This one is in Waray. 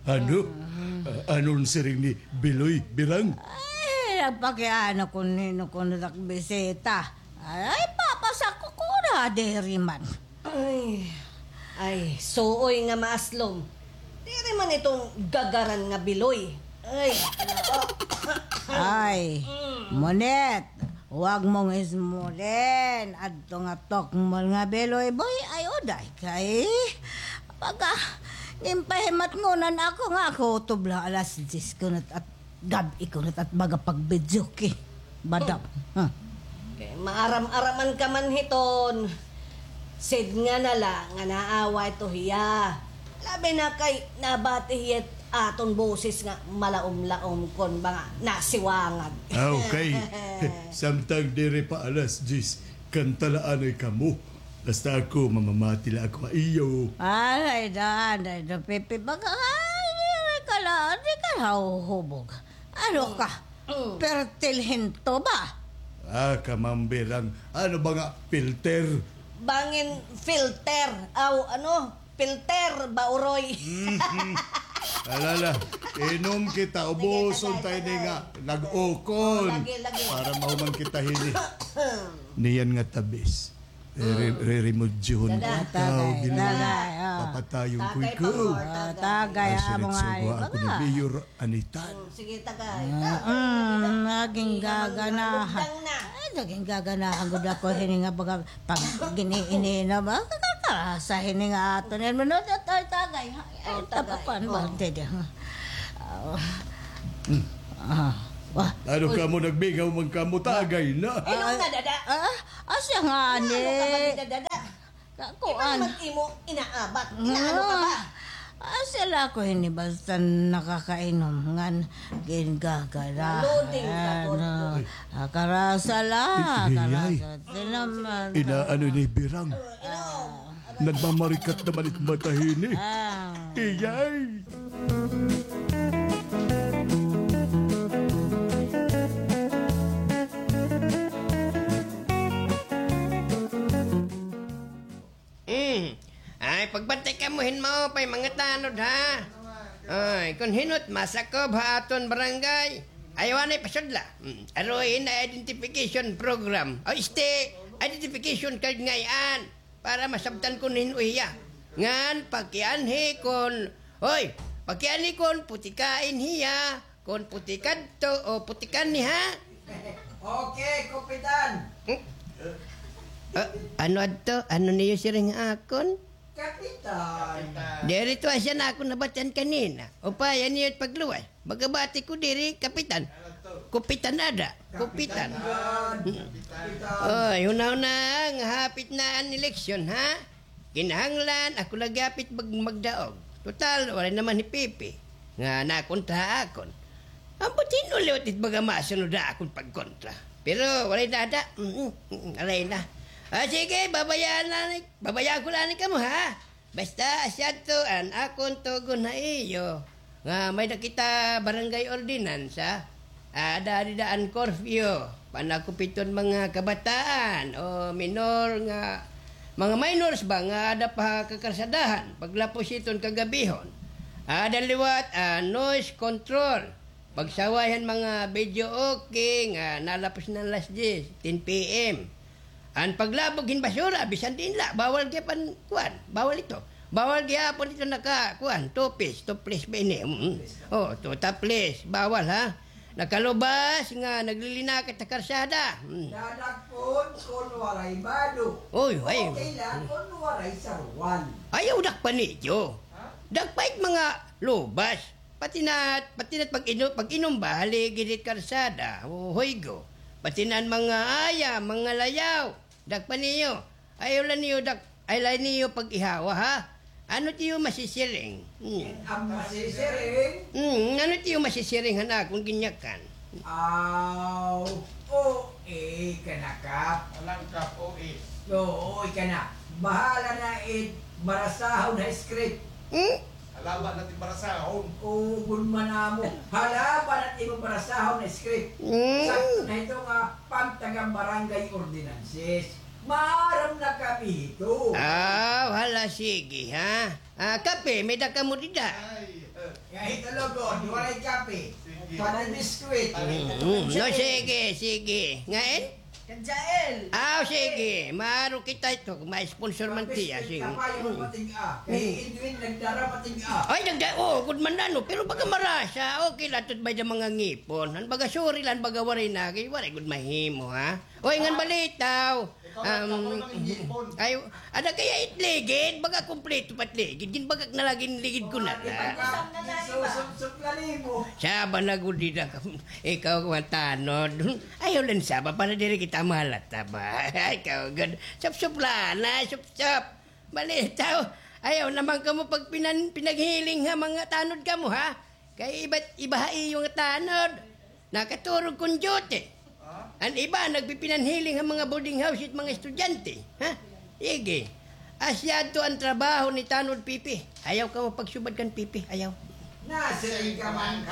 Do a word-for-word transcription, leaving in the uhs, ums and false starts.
Ano? Ah, ano an siring ni Biloy, Birang? Ay, nagpakiana kun hin-o kuno it ak bisita. Ay, papasakop ko na diri man. Ay, ay, suoy nga maaslom. Diri man iton gagaran nga Biloy. Ay, nako. Ay, Monet, huwag mong ismulin. Adto nga tukmol nga Biloy, boy, ay uday kay. Baga, ginpahimatngonan ako nga ako tubla alas diyes kuno it gab-i kuno it baga pag-videoke. Badap. Hmm. Kay maaram-araman ka man hiton. Sidnga na la nga naawa ito hiya. Labi na kay nabati hiya it aton boses nga malaom-laom kon mga nasiwangag. Ah, okay. Samtang diri pa alas diyes, kanta la anay kamo. Basta ako, mamamati la ako ha iyo. Ay, da, anay da, Pipi. Baga, ay, diri ka la, di ka la huhubog. Ano ka? Mm. Pertil hinto ba? Ah, kamambirang, ano ba nga filter? Bangin filter. Aw, ano? Filter ba, uroy? Mhm. Alala, inom kita, ubuson ta ini nga nag-ukon. Oh, lagi, lagi. Para mahuman kita hini. Niyan nga tabis. Eh, re-, re-remodyohon ko ikaw, Biloy. Tagay, tagay, ah. Papatayon ko ikaw. Tagay, pangor, tagay. Ah, tagay, amo nga, ako ni Mayor Anitan. Mm, sige, tagay. Ah, tagay. Mm, naging gaganahan. Ay, naging gaganahan gud ako hini nga baga pag gini-ini na ba? Kakarasa hini nga aton. Ano, tagay, tagay. Ay, tagay. Ay, tapapan ba? Dede, ha? Ah. Ah. Wah. Ano ka mo nagbigaw man ka mo, tagay na. Inom na, dada. Ah, asya ngani. Ano ka ba, dada? Kakuan. Iba naman imo inaabat. Inaano ka ba? Ah, asya la ako hini basta nakakainom ngan gingagala. Loading ka, ano, ah, karasa la, karasa. Inaano ni Birang? Inom. Nagmamarikat naman it mata hini. Ah. Iyay! Mm. Ay, pagbantay kamo hin maupay, mga tanod, ha? Ay, kon hin-o it masakob ha aton barangay, ayaw anay pasudla. Mm. Aruy hin identification program. O, este, identification card ngay-an. Para masabtan kon hin-o hiya. Ngan pakianhi kon, hoy, pakianhi kon putikain hiya, kon putikadto o putikanhi, ha? Okay, Kapitan. Hmm? Ah, ano adto? Ano niyo siring ha akon? Kapitan. Diri ito asya nga akon nabatian kanina. Upaya niyo it pagluwas. Magabati ko diri, Kapitan. Kupitan ada. Kupitan. Kapitan. Oy, hunahuna nga hapit na an eleksyon, ha? Kinahanglan ako lagi hapit mag-, magdaog. Total, waray naman hi Pipi nga nakontra ha akon. Ambot hin-o liwat it baga masunod ha akon pagkontra. Pero waray na ada. Mm, mm, mm, waray na. Ah, sige, babayaan na ni, babayaan ko la ni kamo, ha? Basta asya adto an akon tugon ha iyo, nga may-ada kita barangay ordinansa. Ada dida an curfew, panakupit hit mga kabataan o minor nga, mga minors ba nga ada pa ha kakarsadahan paglapos hiton kagabihon. Ada liwat an noise control. Pagsaway han mga videoke nga nalapos na an alas diyes, ten P M. An paglabog hin basura, bisan diin la, bawal gihapon kuan, bawal ito. Bawal gihapon ito naka, kuan, topless, topless ba ini? Mm. O, to, topless, bawal, ha? Nakalubas nga naglilinakat ha karsada. Mm. Dadagpon kon waray bado. Oy, ay. Okay la kon waray saruan. Ayaw dakpan niyo. Ha? Dakpa it mga lubas. Pati na, pati na pag-ino-, pag-inom ba, haligi hit karsada, o huygo. Pati na an mga ayam, mga layaw. Dakpa niyo. Ayaw la niyo dak-, ayaw la niyo pag-ihawa, ha? Ano it iyo masisiring? Hmm. An masisiring? Hmm, ano it iyo masisiring han akon ginyakan? Aw, O A ka na, Kap. Walang Kap, O A. Oo, O A ka na. Bahala na it barasahon ha script. Hmm? Halaba na it barasahon. Oo, gunman amo. Halaba na it imo barasahon ha script. Hmm. Sakto na ito nga pagtaga-barangay ordinances. Maaram na kami hito. Ah, hala, sige, ha? Ah, kape, may-ada kamo dida? Ay, eh. Kahit ano, God, waray kape. Waray biskwit. Mm, no, sige, sige. Ngain? Kadyael. Ah, sige. Maaro kita ito. May sponsor man tiya. Sige. Kapayo, matig-a. Kay Edwin, nagdara, matig-a. Ay, nagda-, oo, good man na, no? Pero baga marasa. Okay la, tut may da mga ngipon. An baga, sorry lang, baga waray na. Kay waray good mahimo, ha? Oy, ngan balitaw. Ikaw, um, ikaw, ikaw, ikaw, ay, ada kaya it ligid, baga kumpleto pa it ligid. Ginbagak na lagi it ligid ko na la. Ipagkusam na la, iba. Siya ba nagudida ka? Ikaw, kuwan, tanod. Ayaw lang saba para diri kita mahalata ba? Ikaw, gad. Supsup la na, supsup. Balitaw. Ayaw naman kamo pagpinan-, pinaghiling ha mga tanod kamo, ha? Kay iba't iba ha iyo nga tanod. Nakaturog kon duty. An iba, nagpipinanhiling ha mga boarding house it mga estudyante. Ha? Sige. Asya adto an trabaho ni Tanod Pipi. Ayaw kamo pagsubad kan Pipi. Ayaw. Nasiring ka man ka,